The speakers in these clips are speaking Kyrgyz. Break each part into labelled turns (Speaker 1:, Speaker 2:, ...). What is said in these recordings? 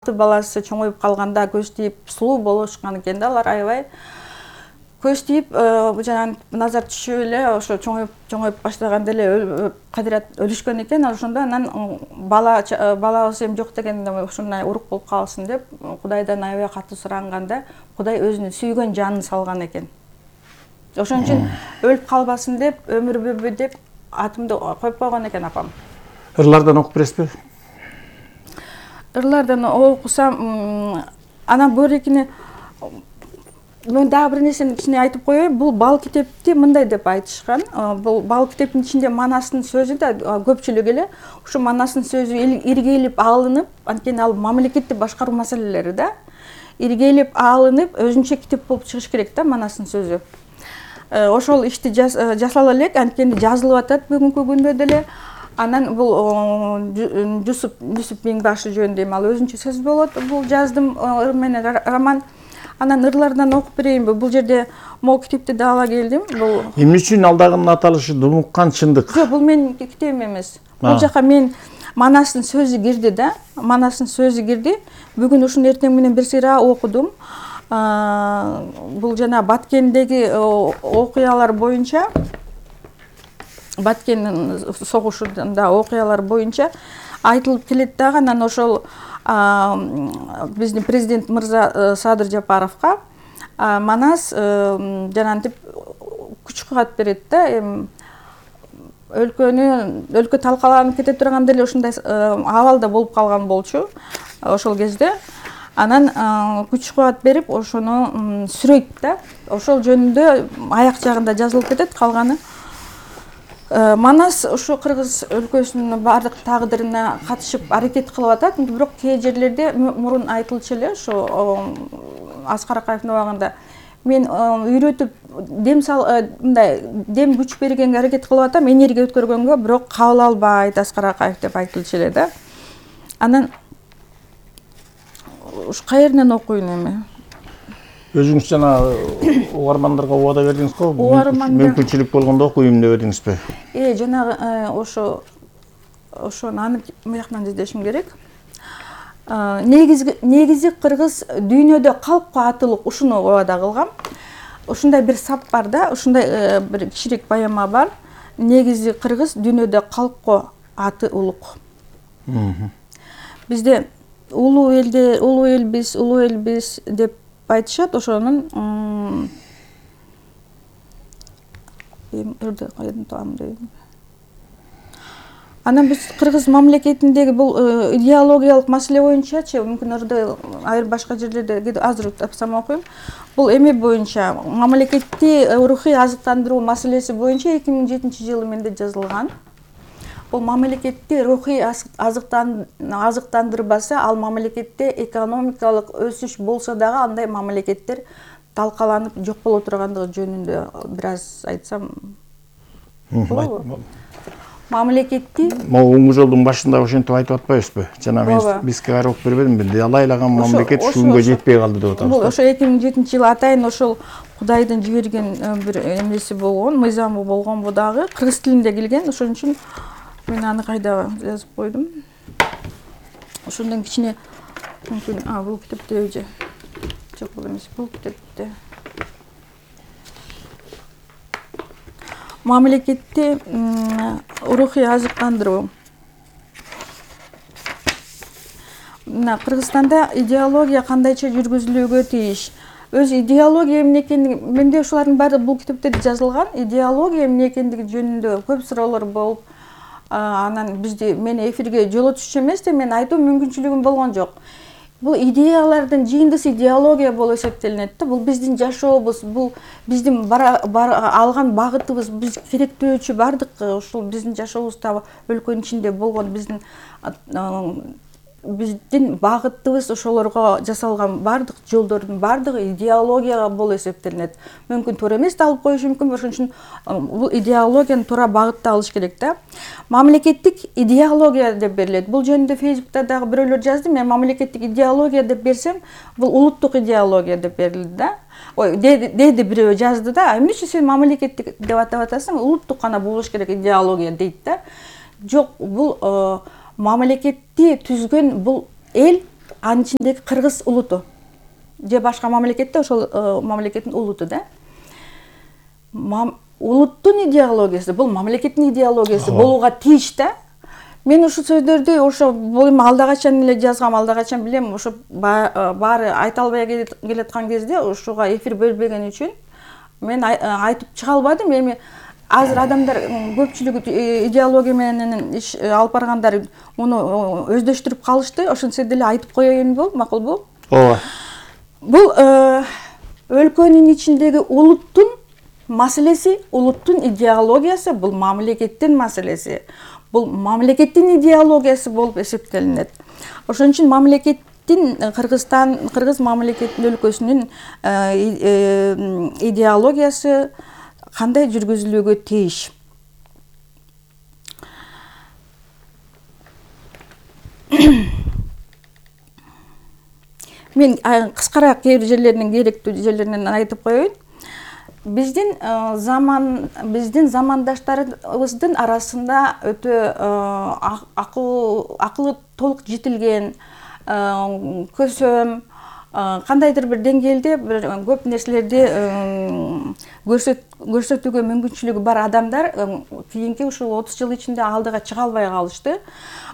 Speaker 1: Баласы чоңоюп калганда көз тийип сулуу болушкан экен да, алар аябай көз тийип жана назар түшүп эле ошо чоңоюп баштаганда эле кадырат өлүшкөн экен. Ошондо анан балабыз эми жок деген ушундай урук болуп калсын деп Кудайдан аябай катуу суранганда Кудай өзүнүн сүйгөн жанын салган экен. Ошон үчүн өлүп калбасын деп өмүрбү деп атымды коюп койгон экен апам.
Speaker 2: Ырлардан окуп бересизби?
Speaker 1: Ырлардан окусам, анан бөөрекине мен дагы бир нерсени кичине айтып коеюн. Бул бал китепти мындай деп айтышкан. Бул бал китептин ичинде Манастын сөзү да көпчүлүк эле ушу Манастын сөзү иргелип алынып, анткени ал мамлекетти башкаруу маселелери да. Иргелип алынып, өзүнчө китеп болуп чыгыш керек да Манастын сөзү. Ошол ишти жасала элек, анткени жазылып атат бүгүнкү күндө деле. Анан бул Жусуп Миңбашев жөнүндө ал өзүнчө сөз болот. Бул жаздым ыр менен роман. Анан ырлардан окуп берейинби? Бул жерде могу китепти да ала келдим. Бул
Speaker 2: эмне үчүн алдагынын аталышы Думуккан чындык?
Speaker 1: Жок, бул менин китебим эмес. Бул жака мен Манастын сөзү кирди да. Манастын сөзү кирди. Бүгүн ушуну эртең менен бир сыйра окудум. Бул жана Баткендеги окуялар боюнча, Баткендин согушунда окуялар боюнча айтылып келет дагы. Анан ошол биздин президент мырза Садыр Жапаровго Манас жанагынтип күч кубат берет да. Өлкө талкаланып кете турганда эле ушундай абалда болуп калган болчу ошол кезде. Анан күч кубат берип ошону сүрөйт да. Ошол жөнүндө аяк жагында жазылып кетет, калганы. Манас ушу Кыргыз өлкөсүнүн бардык тагдырына катышып аракет кылып атат, бирок кээ жерлерде мурун айтылчу эле ошо Аскар Акаевдин убагында мен үйрөтүп мындай дем күч бергенге аракет кылып атам, энергия өткөргөнгө, бирок кабыл албайт Аскар Акаев деп айтылчу эле да. Анан ушу каерден окуйн эми?
Speaker 2: Өзүңүз жана угармандарга убада бердиңиз го? Мүмкүнчүлүк болгондо окуйм деп бердиңизби?
Speaker 1: Жанагы ошону аны мыяктан издешим керек. Негизи кыргыз дүйнөдө калкко атылык, ушуну убада кылгам. Ушундай бир сап бар да, ушундай бир кичирээк поэма бар. Негизи кыргыз дүйнөдө калкко аты улук. Бизде улуу элбиз деп айтышат. Ошонун анан биз кыргыз мамлекетиндеги бул идеологиялык маселе боюнчачы, мүмкүн ырды айыр башка жерлерде азыр тапсам окуйм. Бул эме боюнча мамлекетти рухий азыктандыруу маселеси боюнча 2007-жылы менде жазылган. Бул мамлекетти рухий азыктандырбаса, ал мамлекетте экономикалык өсүш болсо дагы андай мамлекеттер талкаланып жок боло тургандыгы жөнүндө бир аз айтсам болобу? Мамлекетти
Speaker 2: могу жолдун башында ошентип айтып атпайбызбы? Жана биз кайра окуп бербедимби? Далайлаган мамлекет ушунга жетпей калды деп атабыз.
Speaker 1: Бул ошо 2007-жылы атайын ошол Кудайдын жиберген бир эмеси болгон, мыйзамы болгонбу дагы, кыргыз тилинде келген. Ошон үчүн мен аны кайда жазып койдум. Ошондон кичине мүмкүн бул китепте же жок эмес, бул китепте мамлекетти рухий азыктандыруу. Мына Кыргызстанда идеология кандайча жүргүзүлүүгө тийиш. Өз идеология эмне экендиги менде ушулардын баары бул китепте жазылган. Идеология эмне экендиги жөнүндө көп суроолор болуп, анан мени эфирге жолотушчу эмес да, мен айтуу мүмкүнчүлүгүм болгон жок. Бул идеялардын жыйындысы идеология болуп эсептелинет да. Бул биздин жашообуз, бул биздин алган багытыбыз, биз керектөөчү бардык ушул биздин жашообузда өлкөнүн ичинде болгон биздин багытыбыз, ошолорго жасалган бардык жолдордун бардыгы идеологияга болуп эсептелинет. Мүмкүн туура эмес да алып коюшу мүмкүн, ошон үчүн бул идеологияны туура багытта алыш керек да. Мамлекеттик идеология деп берилет. Бул жөнүндө Фейсбукта дагы бирөөлөр жазды. Мен мамлекеттик идеология деп берсем, бул улуттук идеология деп берилди да. Деди бирөө жазды да. Эмне үчүн сен мамлекеттик деп атап атасың? Улуттук гана болуш керек идеология дейт да. Жок, бул мамлекетти түзгөн бул эл анын ичиндеги кыргыз улуту же башка мамлекетте ошол мамлекеттин улуту да. Улуттун идеологиясы бул мамлекеттин идеологиясы болууга тийиш да. Мен ушул сөздөрдү ошо бул алда качан эле жазгам, алда качан билем, ошо баары айта албай келаткан кезде ушуга эфир бөлбөгөн үчүн мен айтып чыга албадым. Эми азыр адамдар көпчүлүгү идеология менен иш алып баргандар муну өздөштүрүп калышты. Ошентсе деле айтып коеюн макулбу?
Speaker 2: Ооба.
Speaker 1: Бул өлкөнүн ичиндеги улуттун маселеси, улуттун идеологиясы бул мамлекеттин маселеси. Бул мамлекеттин идеологиясы болуп эсептелинет. Ошон үчүн мамлекеттин кыргыз мамлекеттин өлкөсүнүн идеологиясы кандай жүргүзүлүүгө тийиш. Мен кыскараак кээ бир жерлеринин керектүү жерлеринен айтып коеюн. Биздин замандаштарыбыздын арасында өтө акылы толук жетилген, көсөм, кандайдыр бир деңгээлде бир көп нерселерди көрсөтүүгө мүмкүнчүлүгү бар адамдар кийинки ушул 30 жыл ичинде алдыга чыга албай калышты.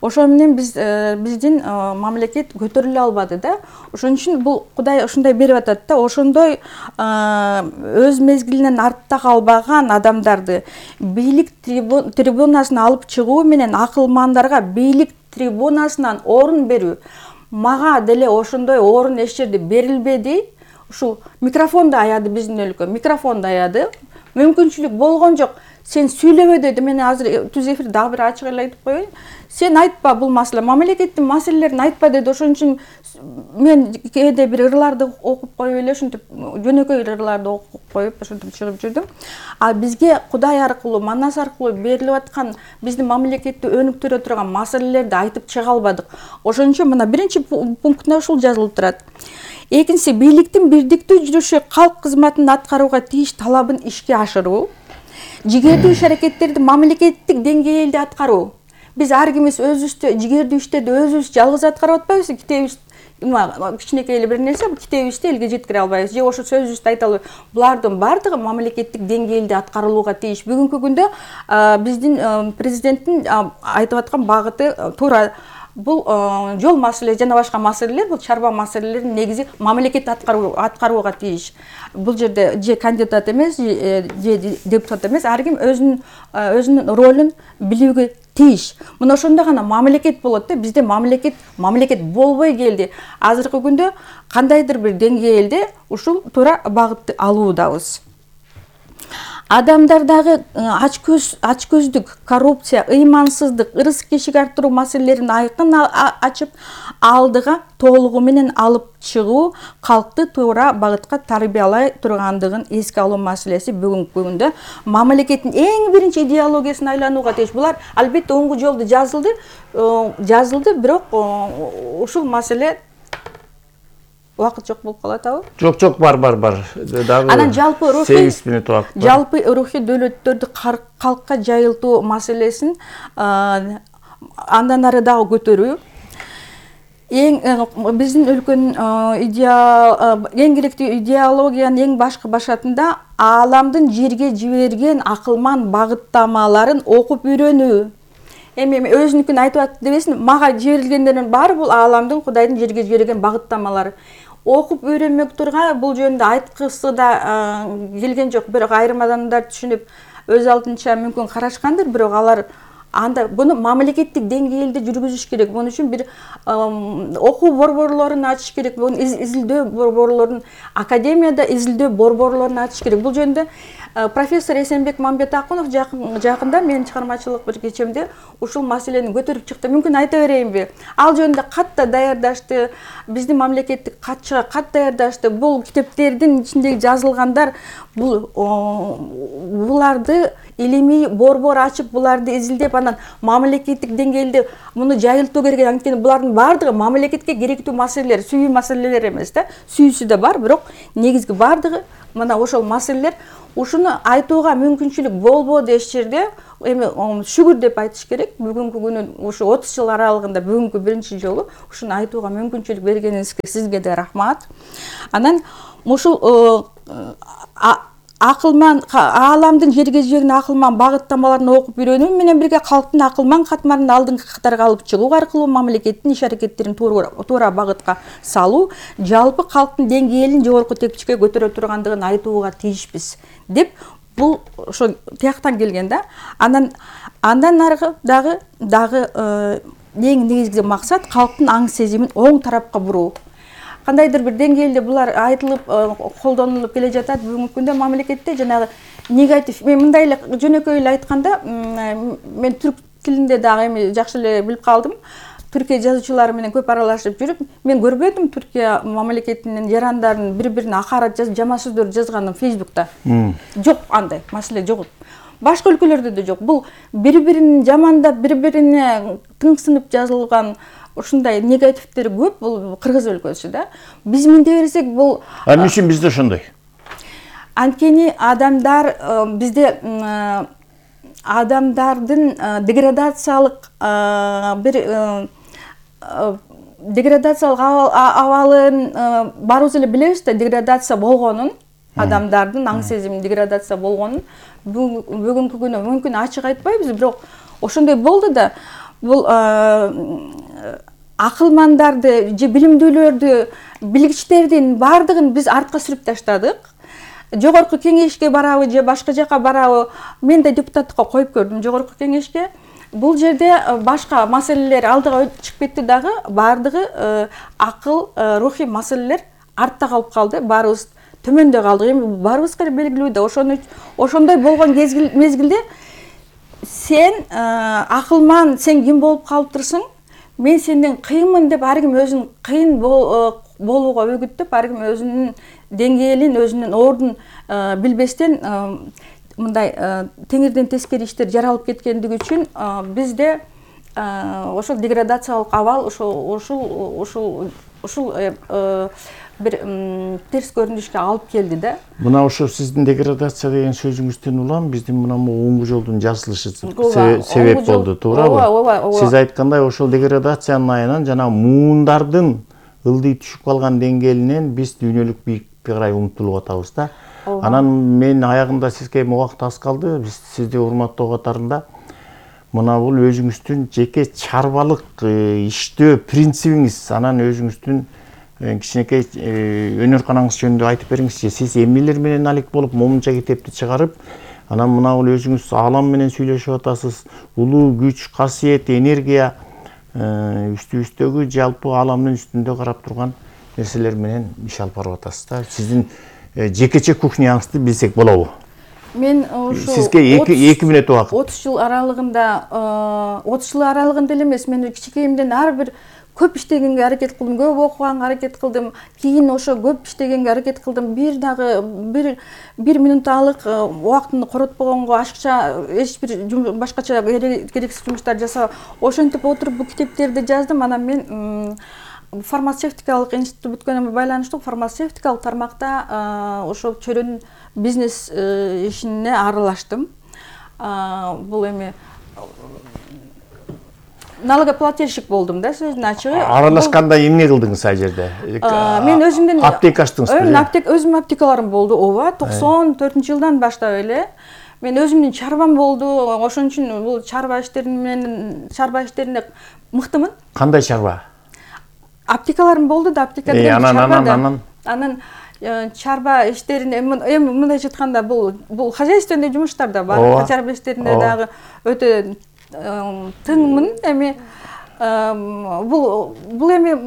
Speaker 1: Ошо менен биздин мамлекет көтөрүлө албады да. Ошон үчүн бул Кудай ушундай берип атат да. Ошондой өз мезгилинен артта калбаган адамдарды бийлик трибунасына алып чыгуу менен акылмандарга бийлик трибунасынан орун берүү. Мага деле ошондой орун эч жерде берилбеди. Ушул микрофонду аяды биздин өлкө, микрофонду аяды. Мүмкүнчүлүк болгон жок. Сен сүйлөбө деди. Мен азыр түз эфирде дагы бир ачык эле айтып коеюн. Сен айтпа бул маселе, мамлекеттин маселелерин айтпа деди. Ошон үчүн мен кээде бир ырларды окуп коюп эле ушинтип жөнөкөй ырларды окуп коюп ушинтип чыгып жүрдүм. А бизге Кудай аркылуу, Манас аркылуу берилип аткан биздин мамлекетти өнүктүрө турган маселелерди айтып чыга албадык. Ошон үчүн мына биринчи пунктта ушул жазылып турат. Экинчиси, бийликтин бирдиктүү жүрүшү калк кызматын аткарууга тийиш талабын ишке ашыруу. Жигердүү иш-аракеттерди мамлекеттик деңгээлде аткаруу. Биз ар кимибиз өзүбүздө жигердүү иштерди өзүбүз жалгыз аткарып атпайбызбы? Китебиз кичинекей эле бир нерсе, китебизди элге жеткире албайбыз. Же ошо сөзүбүздү айта албайбыз. Булардын бардыгы мамлекеттик деңгээлде аткарылууга тийиш. Бүгүнкү күндө биздин президенттин айтып аткан багыты туура. Бул жол маселе жана башка маселелер, бул чарба маселелерин негизи мамлекет аткарууга тийиш. Бул жерде же кандидат эмес, же депутат эмес, ар ким өзүнүн ролун билүүгө тийиш. Мына ошондо гана мамлекет болот да. Бизде мамлекет болбой келди. Азыркы күндө кандайдыр бир деңгээлде ушул туура багытты алуудабыз. Адамдардагы ачкөздүк, коррупция, ыймансыздык, ырыс-кешик арттыруу маселелерин айкын ачып, алдыга толугу менен алып чыгуу, калкты туура багытка тарбиялай тургандыгын эске алуу маселеси бүгүнкү күндө мамлекеттин эң биринчи идеологиясына айланууга тийиш. Булар албетте оңгу жолду жазылды, бирок ушул маселе убакыт жок болуп калат абы?
Speaker 2: Жок, бар. Дагы
Speaker 1: анан жалпы
Speaker 2: 8 мүнөт убакыт бар.
Speaker 1: Жалпы рухий дөөлөттөрдү калкка жайылтуу маселесин андан ары дагы көтөрүү. Биздин өлкөнүн эң керектүү идеологиянын эң башкы башатында ааламдын жерге жиберген акылман багыттамаларын окуп үйрөнүү. Эми өзүнүкүн айтып атты дебесин, мага жиберилгендердин баары бул ааламдын Кудайдын жерге жиберген багыттамалары. Окуп үйрөнмөк турга бул жөнүндө айткысы да келген жок. Бирок айрым адамдар түшүнүп өз алдынча мүмкүн карашкандыр, бирок алар анда буну мамлекеттик деңгээлде жүргүзүш керек. Бунун үчүн бир окуу борборлорун ачыш керек. Буну изилдөө борборлорун, академияда изилдөө борборлорун ачыш керек. Бул жөнүндө профессор Эсенбек Мамбетакунов жакында менин чыгармачылык бир кечемде ушул маселени көтөрүп чыкты. Мүмкүн айта берейинби? Ал жөнүндө кат да даярдашты, биздин мамлекеттик катчыга кат даярдашты. Бул китептердин ичиндеги жазылгандар буларды илимий борбор ачып буларды изилдеп анан мамлекеттик деңгээлде муну жайылтуу керек. Анткени булардын баардыгы мамлекетке керектүү маселелер, сүйүү маселелер эмес да. Сүйүүсү да бар, бирок негизги баардыгы мына ошол маселелер. Ушуну айтууга мүмкүнчүлүк болбоду эч жерде. Эми шүгүр деп айтыш керек. Бүгүнкү күнү ушу 30 жыл аралыгында бүгүнкү биринчи жолу ушуну айтууга мүмкүнчүлүк бергениңизге сизге да рахмат. Анан ушул акылман ааламдын жерге жиберген акылман багыттамаларын окуп үйрөнүү менен бирге калктын акылман катмарын алдыңкы катарга алып чыгуу аркылуу мамлекеттин иш-аракеттерин туура багытка салуу, жалпы калктын деңгээлин жогорку текчекке көтөрө тургандыгын айтууга тийишпиз деп бул ошо тияктан келген да. Андан аркы дагы эң негизги максат калктын аң сезимин оң тарапка буруу. Кандайдыр бир деңгээлде булар айтылып, колдонулуп келе жатат. Бүгүнкү күндө мамлекетте жанагы негатив, мен мындай эле жөнөкөй эле айтканда, мен түрк тилинде дагы эми жакшы эле билип калдым. Түркия жазуучулары менен көп аралашып жүрүп, мен көрбөдүм Түркия мамлекетинин жарандарын бири-бирине акарат жазып, жаман сөздөр жазганын Facebook'та. Жок андай маселе жок. Башка өлкөлөрдө да жок. Бул бири-бирин жамандап, бири-бирине тыңсынып жазылган ушундай негативтер көп. Бул Кыргыз өлкөсү да. Биз мындай берсек бул
Speaker 2: эмне үчүн бизде ошондой?
Speaker 1: Анткени адамдар бизде адамдардын деградациялык абалын баарыбыз эле билебиз да, деградация болгонун, адамдардын аң сезиминин деградация болгонун бүгүнкү күнү мүмкүн ачык айтпайбыз, бирок ошондой болду да. Бул акылмандарды же билимдүүлөрдү, билгичтердин баардыгын биз артка сүрүп таштадык. Жогорку кеңешке барабы же башка жака барабы, мен да депутаттыкка коюп көрдүм жогорку кеңешке. Бул жерде башка маселелер алдыга чыгып кетти дагы, баардыгы акыл, рухий маселелер артта калып калды. Баарыбыз төмөндө калдык. Эми баарыбызга белгилүү да. Ошондой болгон мезгилде сен акылман, сен ким болуп калыптырсың? Мен сенден кыйынмын деп ар ким өзүн кыйын болууга өгүттөп, ар ким өзүнүн деңгээлин, өзүнүн ордун билбестен мындай теңирден тескери иштер жаралып кеткендиги үчүн бизде ошол деградациялык абал ушул бир терс көрүнүшкө алып келди да.
Speaker 2: Мына ошо сиздин деградация деген сөзүңүздөн улам биздин мына оңгу жолдун жасылышы себеп болду, туурабы? Сиз айткандай ошол деградациянын айынан жана муундардын ылдый түшүп калган деңгээлинен биз дүйнөлүк бийиктикке карай умтулуп атабыз да. Анан мен аягында сизге убакыт аз калды. Биз сизди урматтоо катарында мына бул өзүңүздүн жеке чарбалык иштөө принцибиңиз, анан өзүңүздүн кичинекей өнөр канаңыз жөнүндө айтып бериңизчи. Сиз эмнелер менен алек болуп момунча китепти чыгарып, анан мына бул өзүңүз аалам менен сүйлөшүп атасыз. Улуу күч, касиет, энергия үстүбүздөгү жалпы ааламдын үстүндө карап турган нерселер менен иш алып барып атасыз да. Сиздин жекече кухняңызды билсек болобу?
Speaker 1: Мен ушу
Speaker 2: сизге 2 мүнөт убакыт.
Speaker 1: 30 жыл аралыгында эле эмес, мен кичинекейимден ар бир көп иштегенге аракет кылдым, көп окуганга аракет кылдым. Кийин ошо көп иштегенге аракет кылдым. Бир дагы бир минуталык убактымды коротпогонго, ашыкча эч бир башкача керексиз жумуштар жасап, ошентип отуруп бул китептерди жаздым. Анан мен фармацевтикалык институтты бүткөнүмө байланыштуу фармацевтикалык тармакта ошол чөйрөнүн бизнес ишине аралаштым. Бул эми налогоплательщик болдум да, сөздүн ачыгы.
Speaker 2: Аралашканда эмне кылдыңыз ал жерде?
Speaker 1: Мен өзүмдүн
Speaker 2: аптека ачтыңызбы?
Speaker 1: Өзүмдүн аптекаларым болду, ооба. 94-жылдан баштап эле мен өзүмдүн чарбам болду. Ошон үчүн бул чарба иштерине мыктымын.
Speaker 2: Кандай чарба?
Speaker 1: Аптекаларым болду да, аптека деген чарба. Анан чарба иштерине эми мындайча айтканда бул хозяйственный жумуштар да бар. Чарба иштеринде дагы өтө тыңмын. Эми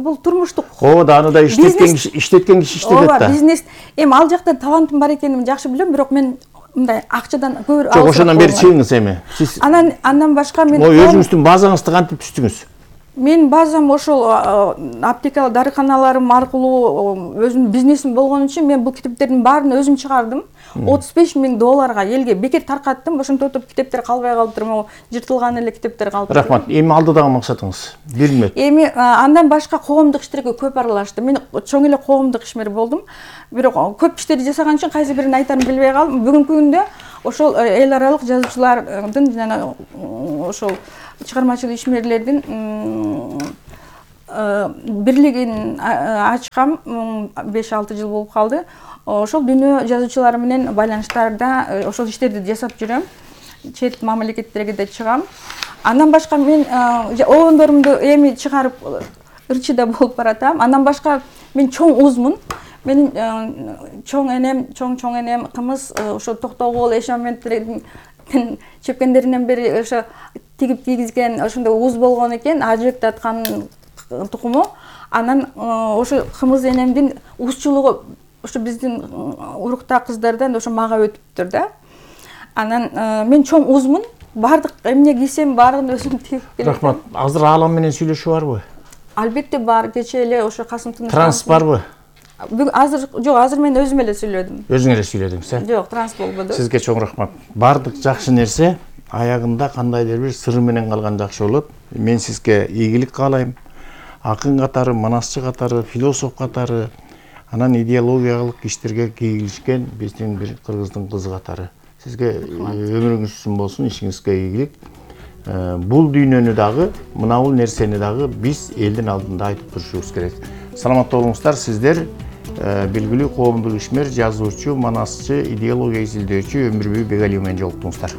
Speaker 1: бул турмуштук.
Speaker 2: Да, аны да иштеткен киши иштетет да.
Speaker 1: Ооба, бизнес. Эми ал жакта талантым бар экенин жакшы билем, бирок мен мындай акчадан көп
Speaker 2: Жок, ошондон бери чыгыңыз эми.
Speaker 1: Андан башка мен
Speaker 2: өзүңүздүн базаңызды кантип түздүңүз?
Speaker 1: Мен базам ошол аптека дарыканаларым аркылуу өзүмдүн бизнесим болгон үчүн мен бул китептердин баарын өзүм чыгардым. $35,000 элге бекер таркаттым. Ошентип китептер калбай калыптыр. Могу жыртылган эле китептер калыптыр.
Speaker 2: Рахмат. Эми алдыдагы максатыңыз? Билмек.
Speaker 1: Эми андан башка коомдук иштерге көп аралаштым. Мен чоң эле коомдук ишмер болдум. Бирок көп иштерди жасаган үчүн кайсы бирин айтарын билбей калдым. Бүгүнкү күндө ошол эл аралык жазуучулардын жана ошол чыгармачыл ишмерлердин бирлигин ачкам 5-6 жыл болуп калды. Ошол дүйнө жазуучулары менен байланыштарда ошол иштерди жасап жүрөм. Чет мамлекеттерге да чыгам. Андан башка мен обондорумду эми чыгарып ырчыда болуп баратам. Андан башка мен чоң узмун. Менин чоң энем кымыз ошо Токтогул эшаметтердин чепкендеринен бери ошо тигип кийгизген ошондой уз болгон экен, ажык таткан тукуму. Анан ошо кымыз энемдин узчулугу ошо биздин уруктаа кыздардан ошо мага өтүптүр да. Анан мен чоң узмун. Бардык эмне кийсем баарын өзүм тигип келем.
Speaker 2: Рахмат. Азыр аалам менен сүйлөшүү барбы?
Speaker 1: Албетте бар. Кечээ эле ошо Касым Тыныч.
Speaker 2: Транс барбы?
Speaker 1: Азыр мен өзүм эле сүйлөдүм.
Speaker 2: Өзүң эле сүйлөдүңүз,
Speaker 1: Жок, транс болбоду.
Speaker 2: Сизге чоң рахмат. Бардык жакшы нерсе аягында кандайдыр бир сыры менен калган жакшы болот. Мен сизге ийгилик каалайм. Акын катары, манасчы катары, философ катары, анан идеологиялык иштерге кийилишкен биздин бир кыргыздын кызы катары. Сизге өмүрүңүз үчүн болсун, ишиңизге ийгилик. Бул дүйнөнү дагы, мынабул нерсени дагы биз элдин алдында айтып турушубуз керек. Саламатта болуңуздар, сиздер белгилүү коомдук ишмер, жазуучу, манасчы, идеология изилдөөчү Өмүрбүй Бегалиева менен жолуктуңуздар.